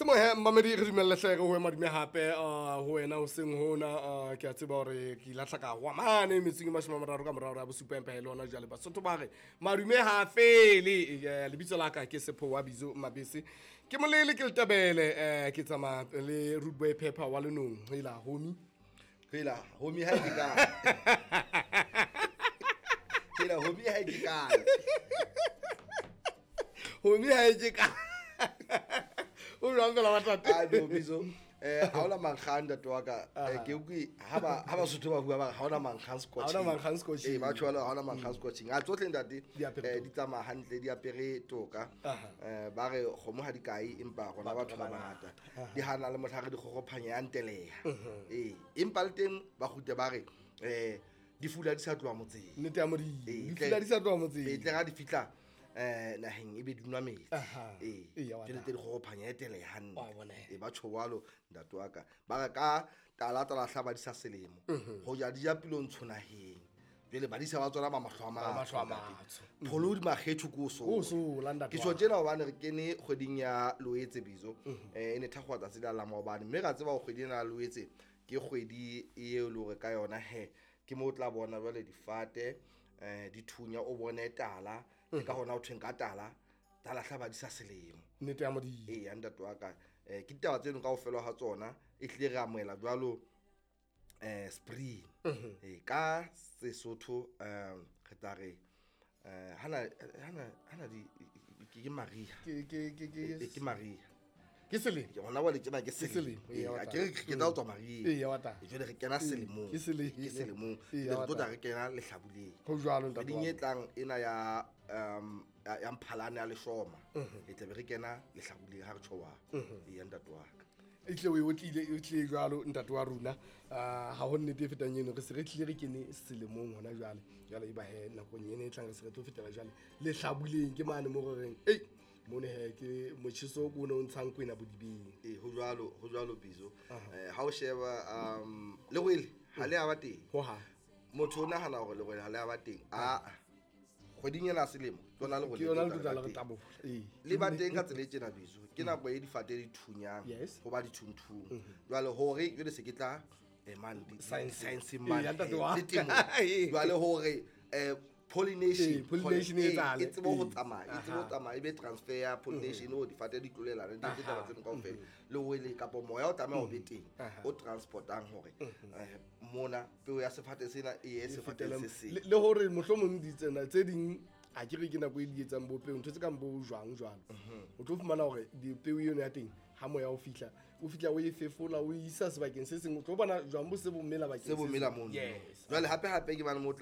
Ke mohe mmamedi, re dumelle hle re hoe madume hape ho wena hoseng hona. Ke a tseba hore ke ilahla ka hwa mane metsing e 30 ka morao ya 7, empa e le hona jwale Basotho ba re madume ha fele. Lebitso la ka ke Sepho wa Bizo Mabese, ke molele, ke letebele, ke tsamaya le Rude Boy Pepper wa Lenong. Hela homie. Hela homie, ha ke kae? Hela homie, ha ke kae? Homie, ha ke kae? O jwang fela wa tate? A no Bizo, ha ona mankgang, ntate wa ka. Ke utlwe ha Basotho ba bua, ba re ha ona mankgang Ha hona mankgang scotching. Ee, ba tjho ha ona mankgang scotching. A tsohle, ntate. Di apere toka. Di tsamaya hantle, di apere toka. Ba re kgomo ha di kae, empa rona Batho batho ba ba bangata di hana le mohla re di kgokgophanya ya nteleha. Ee, empa le teng ba kgutle ba re di fula di sa tloha motseng. Nnete ya Modimo. Ee, di fula di sa tloha motseng. Ee, tle ga di fihla naheng e be di nwa metsi. Ee. Ee, wa Jwale taba. tse di kgokgophanya e teleha hantle. Wa bona he. Ee, ba tjho jwalo, ntate wa ka. Ba re ka tala tala hla badisa selemo ho ja di ja pilo ntsho naheng, jwale badisa ba tsona ba mahlo a Ba mahlo a matsho, ntate. matsho. Pholo di makgetho ko Ko sola, ntate ke wa tjho ka. tjena hobane re kene kgweding ya Loetse, Bizo. E ne thakgowa tsatsi la la maobane, mme ra tseba hore kgwedi ena ya Loetse ke kgwedi eo e le hore ka yona he ke mo o tla bona jwale difate di thunya, o bone tala. Ke ka hona ho thweng ka tala tala hla badisa selemo. Nnete ya Modimo. Ee ya ntate wa ka, ke ditaba tseno kaofela ha tsona e hlile re amohela jwalo spring. Ee, ka Sesotho re tla re hana di ke mariha. Ke Ke mariha. Ke selemo. Ke hona jwale tjena ke selemo, selemo. ee, Ee, wa a taba. ke re ke tla ho tswa mariha. Ee, wa taba. Jwale re kena selemong. Ke selemo. Ke selemong. Ee, Jwale wa re tlo tla taba. re kena lehlabuleng. Ho jwalo, ntate Kgweding wa e ka. tlang ena ya Mphalane, ya leshoma, e tlabe re kena lehlabuleng ha re tjho wa. Ee ya ntate wa ka. E tlile o e otlile, e tlile jwalo, ntate wa rona. Ha ho nnete e fetang eno, re se re tlile re kene selemong hona jwale. Jwale e ba he nakong ena e tlang re se re tlo fetela jwale lehlabuleng, ke mane mo re reng ei mone he ke motjheso o ne o ntshang kwena bodibeng. Ee, ho jwalo, ho jwalo, Bizo. Ha o sheba lerwele ha le a ba teng. Hohang. Motho o nahana hore lerwele ha le a ba teng. Aa, kgweding ena ya selemo ke yona lerwele Ke yona le le tla tla le le ba re teng. tabola. Ee. Le ba teng ka tsela e tjena, Bizo. Ke nako e difate di thunyang, Yes. ho ba dithunthung. Jwale hore jwale se ke tla man Science. science Ee, man ya ntate wa le temo. Ee. Jwale hore pollination, Ee, pollination e etsahale. e tsebe ho Ee. tsamaya, e tsebe ho tsamaya, e be transfer ya pollination o difate di tlolelane, di etse taba tseno kaofela. Le wele kapa moya o tlameha ho be teng o transportang hore mona peo ya sefate sena e ye sefateng se seng. Le hore mohlomong ditsena tse ding a ke re ke nako e di etsang bo peo, ntho tse kang bo jwang jwalo, o tlo fumana hore dipeo eno ya teng ha moya o fihla, o fihla o e fefola, o e isa sebakeng se seng, o tlo bona jwang bo se bo mela bakeng Se bo se mela seng. mono. Yes. Jwale hape hape ke bane mo tla